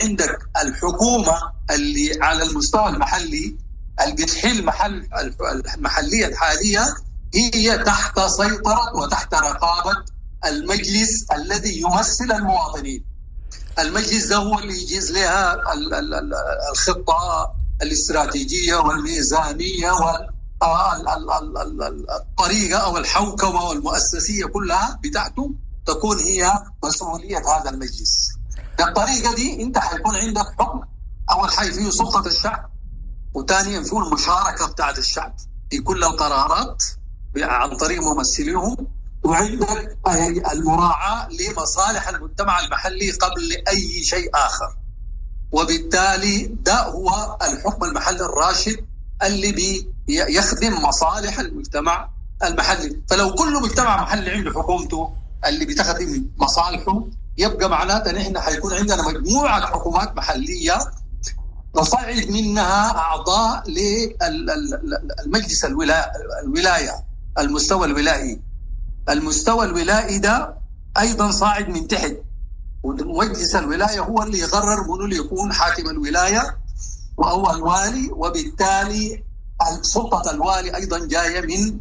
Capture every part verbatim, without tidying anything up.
عندك الحكومة اللي على المستوى المحلي اللي بتحل محل المحلية الحالية هي تحت سيطرة وتحت رقابة المجلس الذي يمثل المواطنين. المجلس ده هو اللي يجيز لها الخطة الاستراتيجية والميزانية والطريقة أو الحوكمة والمؤسسية كلها بتاعته تكون هي مسؤولية هذا المجلس. بالطريقة دي أنت حيكون عندك حكم، أول حاجة فيه سلطة الشعب، وثانيا فيه المشاركة بتاعت الشعب في كل القرارات عن طريق ممثليهم، وعندك المراعاة لمصالح المجتمع المحلي قبل أي شيء آخر. وبالتالي ده هو الحكم المحلي الراشد اللي بيخدم مصالح المجتمع المحلي. فلو كل مجتمع محلي عنده حكومته اللي بتخدم مصالحه، يبقى معناته نحن حيكون عندنا مجموعة حكومات محلية نصعد منها أعضاء للمجلس الولاية، المستوى الولائي. المستوى الولائي ده أيضا صاعد من تحت، ومجلس الولاية هو اللي يقرر منو اللي يكون حاكم الولاية وهو الوالي، وبالتالي سلطة الوالي أيضا جاية من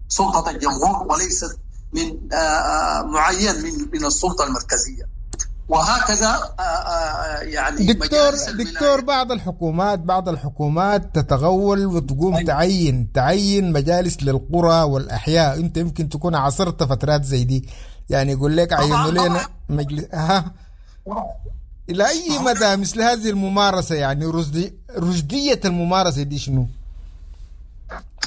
سلطة الجمهور وليست من معين من من السلطة المركزية. وهكذا يعني دكتور دكتور بعض الحكومات بعض الحكومات تتغول وتقوم أيوة. تعين تعين مجالس للقرى والأحياء. أنت يمكن تكون عاصرت فترات زي دي، يعني يقول لك عينوا لنا مجلس. ها إلى أي مدى مثل هذه الممارسة، يعني رشدي رشدية الممارسة دي شنو؟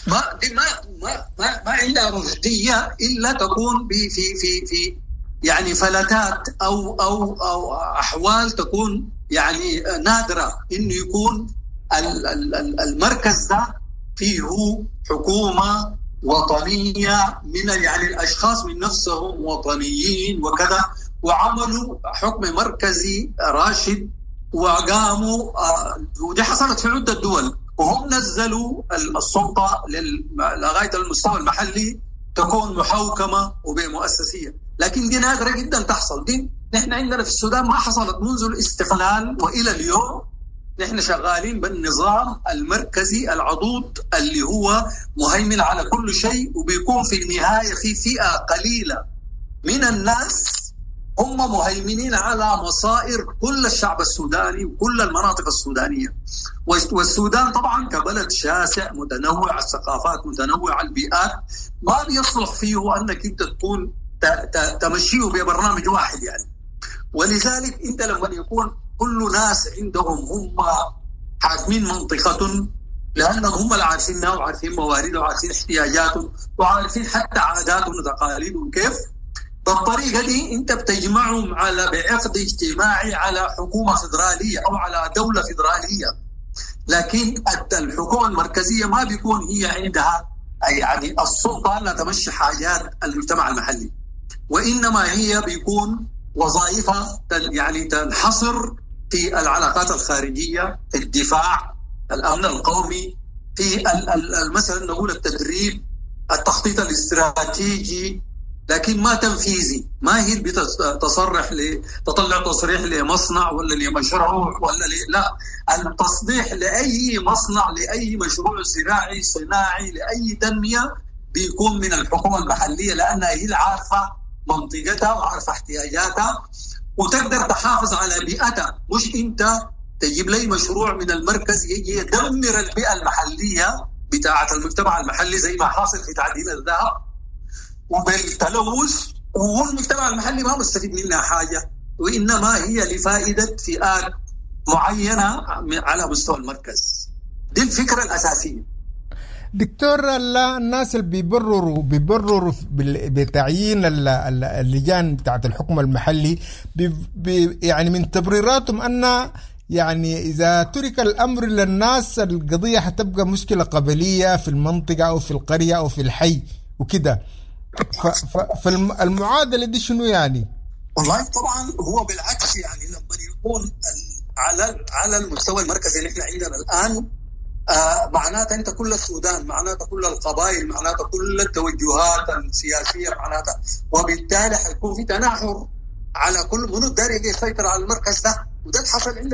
ما دي ما ما ما, ما عندها رشدية إلا تكون في في في في يعني فلتات أو أو أو أحوال تكون يعني نادرة، إنه يكون المركز ده فيه حكومة وطنية من يعني الأشخاص من نفسهم وطنيين وكذا، وعملوا حكم مركزي راشد وقاموا، ودي حصلت في عدة دول، وهم نزلوا السلطة لغاية المستوى المحلي تكون محوكمة وبمؤسسية. لكن دي نادرة جدا تحصل. دي نحن عندنا في السودان ما حصلت منذ الاستقلال وإلى اليوم. نحن شغالين بالنظام المركزي العضوض اللي هو مهيمن على كل شيء، وبيكون في النهاية في فئة قليلة من الناس هم مهيمنين على مصائر كل الشعب السوداني وكل المناطق السودانية. والسودان طبعا كبلد شاسع متنوع الثقافات متنوع البيئات، ما بيصلح فيه أنك أنت تكون تمشيه ببرنامج واحد يعني. ولذلك أنت لما يكون كل ناس عندهم هم حاكمين منطقة، لأنهم هم اللي عارفينها وعارفين مواردها وعارفين احتياجاتهم وعارفين حتى عاداتهم وتقاليدهم كيف، بالطريقة دي أنت بتجمعهم على بعقد اجتماعي على حكومة فدرالية أو على دولة فدرالية. لكن الحكومة المركزية ما بيكون هي عندها يعني السلطة لا تمشي حاجات المجتمع المحلي، وإنما هي بيكون وظائفها يعني تنحصر في العلاقات الخارجية، في الدفاع، الأمن القومي، في مثلا نقول التدريب، التخطيط الاستراتيجي، لكن ما تنفيذي. ما هي بتصرح ل تطلع تصريح لمصنع ولا لمشروع ولا ل... لا، التصريح لأي مصنع لأي مشروع زراعي صناعي لأي تنمية بيكون من الحكومة المحلية، لأنها هي عارفة منطقتها وعارفة احتياجاتها وتقدر تحافظ على بيئتها. مش أنت تجيب لي مشروع من المركز يجي يدمر البيئة المحلية بتاعة المجتمع المحلي زي ما حاصل في تعدين الذهب وبالتلوث، والمجتمع المحلي ما مستفيد منها حاجة، وإنما هي لفائدة فئات معينة على مستوى المركز. دي الفكرة الأساسية. دكتور، الناس اللي بيبرروا بيبرروا بتعيين اللجان بتاعت الحكم المحلي بي بي يعني من تبريراتهم أن يعني إذا ترك الأمر للناس القضية حتبقى مشكلة قبلية في المنطقة أو في القرية أو في الحي وكده. فالمعادلة دي شنو يعني؟ والله طبعا هو بالعكس، يعني لما يكون على على المستوى المركزي اللي احنا عندنا الآن، آه معناته انت كل السودان، معناته كل القبائل، معناته كل التوجهات السياسية، معناته وبالتالي حيكون في تناحر على كل منو داري يسيطر على المركز ده. وده اللي حصل عندنا